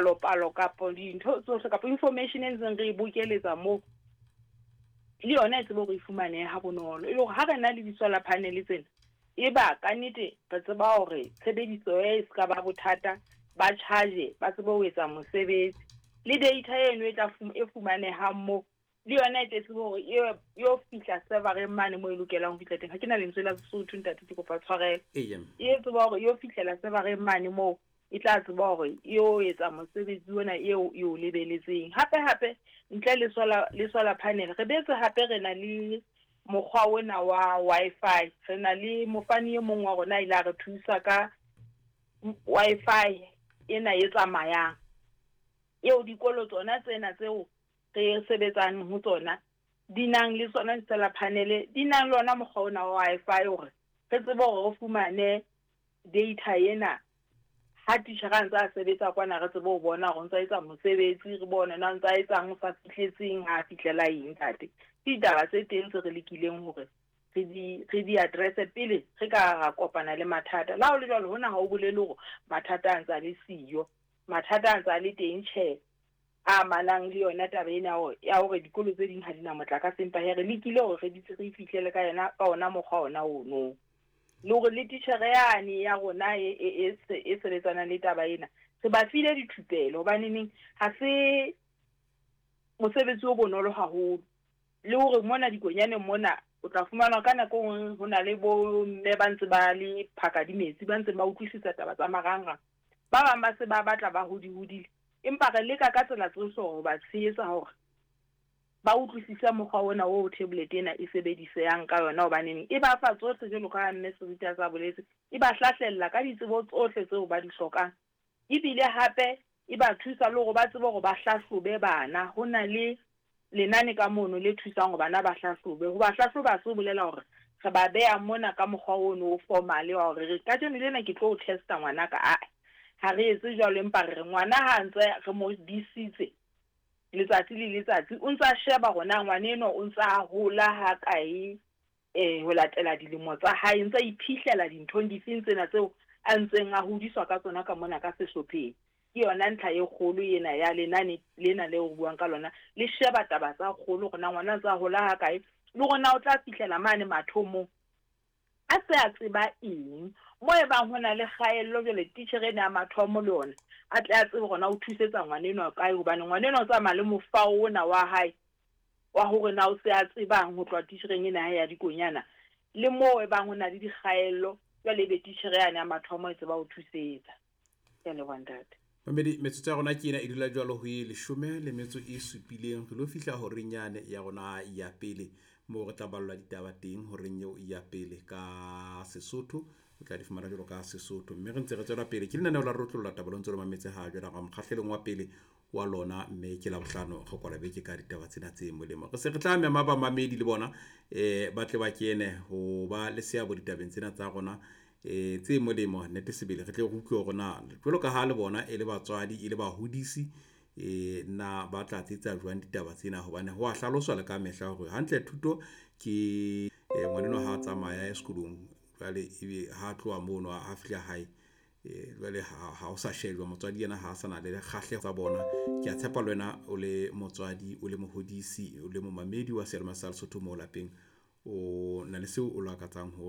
Palo kapa dintho tsohle kapa information e ntseng re e bokeletsa moo, le yona e tsebe hore e fumanehe ha bonolo. E le hore ha re na le di-solar panel tsena, e ba ka nnete re tseba hore tshebediso e se ka ba bothata, ba charge ba tsebe ho etsa mosebetsi. Le data eno e tla e fumanehang moo, le yona e tle tsebe hore e yo fihla server-eng mane moo e lokelang ho fihla teng. Ha ke na lentswe la Sesotho ntate, ke kopa tshwarelo. E tseba hore e yo fihlela server-eng mane moo e tla tseba hore e yo etsa mosebetsi ona eo e o lebeletseng. Hape hape ntle le solar, le solar panel, re boetse hape re na le mokgwa ona wa Wi-Fi. Re na le mofani e mong wa rona a ile a re thusa ka Wi-Fi ena e tsamayang, eo dikolo tsona tsena tseo re sebetsang ho tsona di nang le tsona di-solar panel, di nang le ona mokgwa ona wa Wi-Fi hore re tsebe hore re fumane data ena. Ha titjhere a ntse a sebetsa kwana, re tsebe ho bona hore o ntsa etsa mosebetsi, re bone na o ntsa etsang, o sa fihletseng, ha fihlela eng ntate. Ke ditaba tse teng tse re lekileng hore re di address pele re ka ra kopana le mathata. Le ha ho le jwalo, hona ha o bolele hore mathata a ntse a le siyo. Mathata a ntse a le teng, tjhe, a amanang le yona taba ena ya hore dikolo tse ding ha di na motlakase, empa hee re lekile hore re re fihlele ka yona, ka ona mokgwa ona ono. Le hore le titjhere yane ya rona e sebetsanang le taba ena, re ba file dithupelo, hobaneneng ha se mosebetsi o bonolo haholo. Le hore mona dikonyaneng mona o tla fumana ka nako e nngwe ho na le bo mme ba ntse ba le phaka di metsi, ba ntseng ba utlwisisa taba tsa marangrang. Ba bang ba se ba batla ba hodi-hodile, empa re leka ka tsela tsohle hore ba tshehetsa hore ba utlwisise mokgwa ona o tablet ena e sebedisehang ka yona, hobaneng e ba fa tsohle jwalo ka mme Seriti a sa boletse, e ba hlahlella ka ditsebo tsohle tseo ba di hlokang. Ebile hape e ba thusa le hore ba tsebe hore ba hlahlobe bana. Ho na le lenane ka mono le thusang hore bana ba hlahlobe. Ho ba hlahloba ha se ho bolela hore re ba beha mona ka mokgwa ono o formal wa hore re kajeno lena ke tlo o test-a ngwanaka. Ae, ha re etse jwalo, empa re re ngwana ha ntse re mo disitse letsatsi le letsatsi, o ntsa sheba hore na ngwana enwa o ntsa hola ha kae, ho latela dilemo tsa hae, ntsa iphihlela dinthong difeng tsena tseo a ntseng a hodiswa ka tsona ka mona ka sehlopheng. Ke yona ntlha e kgolo ena ya lenane lena leo re buang ka lona, le sheba taba tsa kgolo hore na ngwana ntsa hola ha kae, le hore na o tla fihlela mane mathomong a se a tseba eng. Mo e bang ho na le kgaello jwale, titjhere ena ya mathomo le yona a tle a tsebe hore na o thusetsa ngwana enwa kae, hobane ngwana enwa o tsamaya le mofao ona wa hae wa hore na o se a tsebang ho tloha titjhereng ena ya dikonyana. Le moo e bang ho na le dikgaello jwale, ebe titjhere yane ya mathomo e tseba ho thusetsa. Ke a leboha ntate. Mamedi, metsotso ya rona ke ena e dula jwalo ho e 17 re lo fihla horeng yane ya rona ya pele, moo re tla ballwa ditaba teng horeng eo ya pele ka Sesotho. O tla di fumana jwalo ka Sesotho, mme re ntse re tswela pele ke lenaneo la Rotlolla Taba, lo ntse lo mametse ha jwale ga mokgahlelong wa pele wa lona, mme ke Labohlano re kwala beke ka ditaba tsena tse molemo. Re se re tla mema bamamedi le bona ba tle ba kene ho ba le seabo ditabeng tsena tsa rona tse molemo. Nnete sebele re tle re utlwe hore na jwalo ka ha le bona e le batswadi, e le bahodisi, na ba tla tsetsa jwang ditaba tsena, hobane ho a hlaloswa le ka mehla hore hantle thuto ke ngwanenwa ha a tsamaya sekolong, jwale ebe ha tloha mono ha fihla hae, jwale ha o sa shejwa motswadi yena ha a sa na le kgahleho tsa bona. Ke a tshepa le wena o le motswadi, o le mohodisi, o le momamedi wa seyalemoya sa Lesotho moo lapeng, o na le seo o lakatsang ho